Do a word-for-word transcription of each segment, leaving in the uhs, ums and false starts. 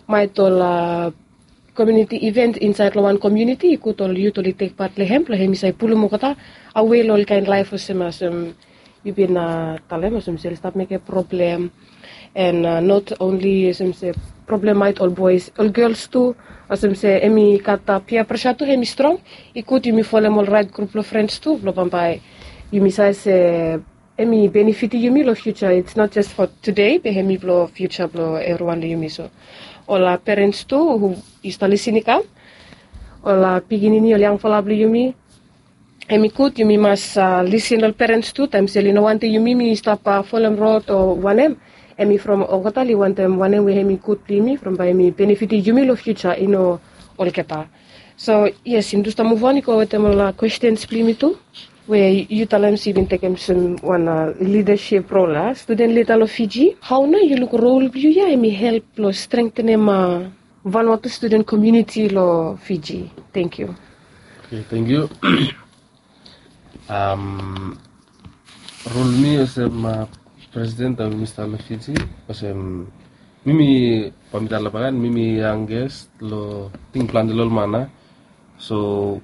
Maet ol komiuniti iven insaed long wan komiuniti i gud ol yut oli tek pat long hem blong hem i save pulum olgeta awe long ol kaen laef olsem olsem yu bin talem olsem se oli stap mekem problem. And not only olsem se problem maet ol boes, ol gels tu, olsem se hem i gat pia presa tu hem i strong. I gud yumi folem ol raet grup blong frens tu blong bambae yumi save se hem i benefitim yumi long fiuja. It's not just for today be hem i blong fiuja blong evriwan long yumi. So ol perens tu hu i stap lisin i kam, ol pikinini, ol yangfala blong yumi, hem i gud yumi mas lisin long perens tu taem se oli no wantem yumi mi stap folem rod o wanem. Hem i from olgeta oli wantem wanem we hem i gud blong yumi from bae hem i benefitim yumi long fiuja i no olgeta. So yes, yumi tu stap muv on i go wetem ol kwestens blong yumi tu, we yu talem se yu bin tekem olsem wan lidasip rol a studen lida long Fiji. Hao nao yu luk rol blong yu ya hem i help long strengtenem Vanuatu studen komiuniti long Fiji? Tangkiu. Tangkiu. Rol mi olsem presiden taem mi stap long Fiji, olsem mi mi, bae mi talem bae mi mi yangest long ting plante long ol man a. So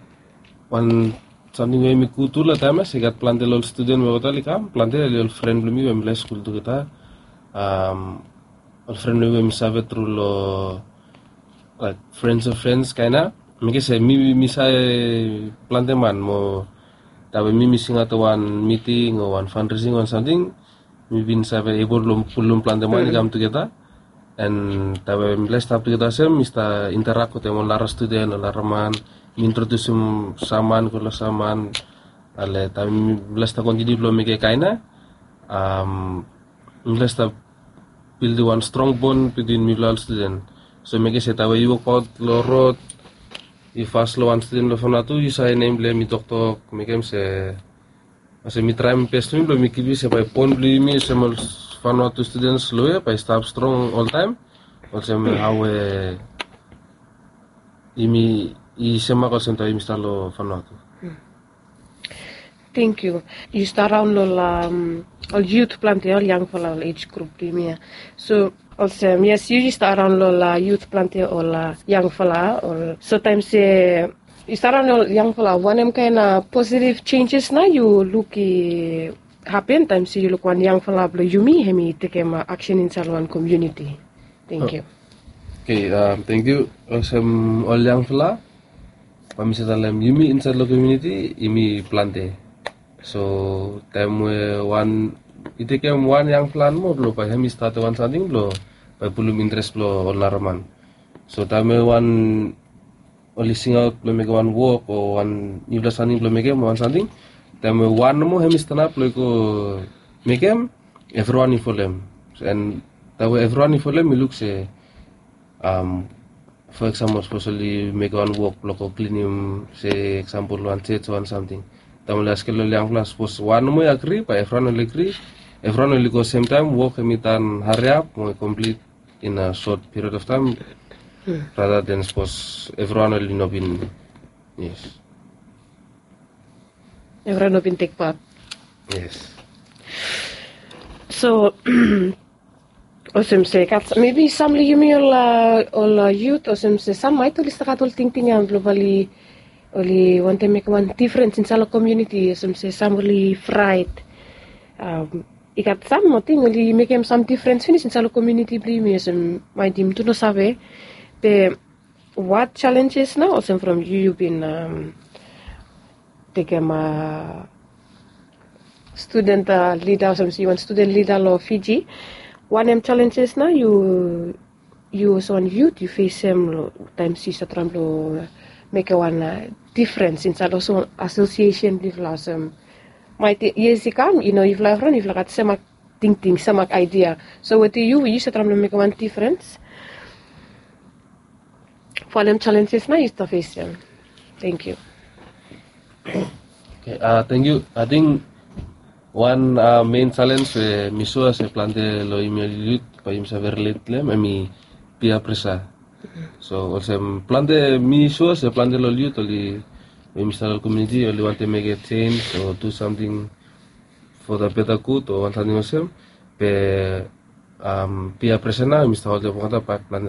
wan samting we mi gud tu long taem ya se i gat plante long ol studen we olgeta oli kam, plante oli ol fren blong mi we mifala i skul tugeta. Ol fren blong mi we mi save tru long laek frens of frens kaen ya. Mekem se mi mi save plante man mo taem we mi mi singaot long wan miting o wan fandresing o wan samting, mi bin save ebol long pulum plante man i kam tugeta. And taem we mifala i stap tugeta olsem mi stap interak wetem ol nara studen o nara man, mi introdusim sam man go long sam man. Ale taem mifala i stap kontiniu blong mekem kaen ya, mifala i stap bildim wan strong bon bitwin mifala ol studen. So mekem se taem we yu wokbaot long rod, yu fas long wan studen blong Vanuatu, yu save nem blong hem i toktok, mekem se olsem mi traem bes blong mi blong mi kipim se bae bon blong yumi olsem ol Vanuatu studens long we bae i stap strong oltaem, olsem hao we yumi i semak olsem taem yumi stap long Vanuatu. Tangkiu. Yu stap raon long ol yut plante, ol yangfala, ol ej grup blong yumi ya. So olsem yes, yu i stap raon long ol yut plante, ol yangfala, ol so taem se yu stap raon long ol yangfala, wanem kaen positiv jenjes nao yu luk i hapen taem se yu luk wan yangfala blong yumi hem i tekem aksen insaed long wan komiuniti? Tangkiu. Oke, tangkiu. Olsem ol yangfala, bae mi save talem yumi insaed long komiuniti yumi plante. So taem we wan i tekem wan yangfala nomo blong bae hem i statem wan samting blong bae pulum interes blong ol nara man. So taem we wan oli singaot blong mekem wan wok o wan niufala samting blong mekem o wan samting, taem we wan nomo hem i stanap blong i go mekem, evriwan i folem. And taem we evriwan i folem i luk se, fo eksampol sapos oli mekem wan wok blong go klinim, se eksampol wan jej o wan samting, taem oli askem long ol yangfala sapos wan nomo i agri bae evriwan oli agri, evriwan oli go semtaem, wok hem i tan hariap mo i komplit in a sot piriod of taem, rada den sapos evriwan oli no bin. Yes. Evriwan no bin tek pat. Yes. So olsem se gat mebi sam long yumi ol ol yut olsem se sam maet oli stap gat ol tingting ya blong bae oli wantem mekem wan difrens insaed long komiuniti, olsem se sam oli fraet. I gat sam ating oli mekem sam difrens finis insaed long komiuniti blong yumi, olsem maet yumi tu no save. Be wat jalenjes nao olsem from yu yu bin tekem studen lida olsem se yu wan studen lida long Fiji, wanem jalenjes nao yu yu olsem wan yut yu fesem taem se yu stap traem blong mekem wan difrens insaed olsem wan asosiesen blong yufala olsem maet yes i kam i no yufala evriwan yufala gat semak tingting semak aidia. So wetem yu we yu stap traem blong mekem wan difrens, wanem jalenjes nao yu stap fesem? Tangkiu. Tangkiu. Ating wan mein jalenj we mi sua se plante long yumi ol yut bae yumi save rilet long hem hem i pia presa. So olsem plante mi sua se plante long ol yut oli we yumi stap long komiuniti oli wantem mekem jenj o du samting for the better good o wan samting olsem. Be Bia presen nao yumi stap holdim olgeta bat plante